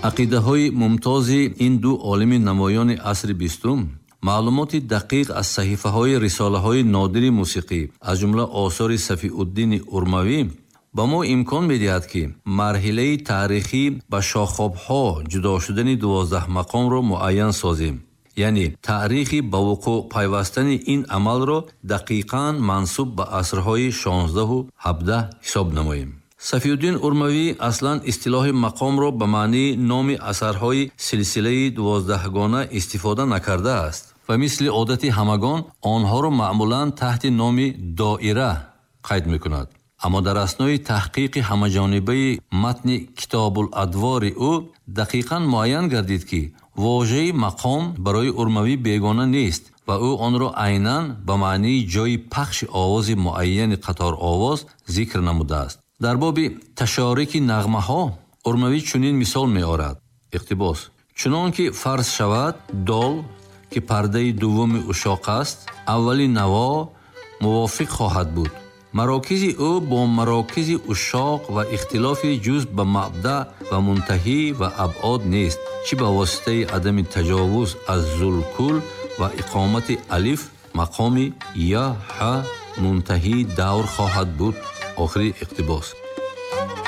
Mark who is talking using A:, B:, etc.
A: Ақидаҳои мумтози ин ду олими намоёни асри бистум, маълумоти дақиқ аз саҳифаҳои рисолаҳои нодири мусиқӣ, аз ҷумла осори Сафиуддини Урмавӣ, ба мо имкон медиҳад, ки марҳилаи таърихӣ ба шохобҳо ҷудо шудани 12 мақомро муайян созем. Яъне таърихи ба вуқӯъ пайвастани ин амалро дақиқан мансуб ба асрҳои 16 17 ҳисоб намоем. Сафиуддин Урмавӣ аслан истилоҳи мақомро ба маънии номи асарҳои силсилаи 12гона истифода накардааст ва мисли одати ҳамагон онҳоро маъмулан таҳти номи доира қайд мекунад. Аммо дар аснои таҳқиқи ҳамаҷонибаи матни Китобул-адвори ӯ дақиқан муайян гардид, ки вожаи мақом барои Урмавӣ бегона нест ва ӯ онро айнан ба маънии ҷойи пахши овози муайяни қаторовоз зикр намудааст. Дар боби ташорики нағмаҳо Урмавӣ чунин мисол меорад. Иқтибос: чунон ки фарз шавад, дол, ки пардаи дуввуми ушоқ аст, аввали наво мувофиқ хоҳад буд. Марокизи ӯ бо марокизи ушоқ ва ихтилофи ҷуз ба мабдаъ ва мунтаҳӣ ва абъод нест, чӣ ба воситаи адами таҷовуз аз зулкул ва иқомати алиф мақоми я ҳа мунтаҳӣ давр хоҳад буд. Охири иқтибос.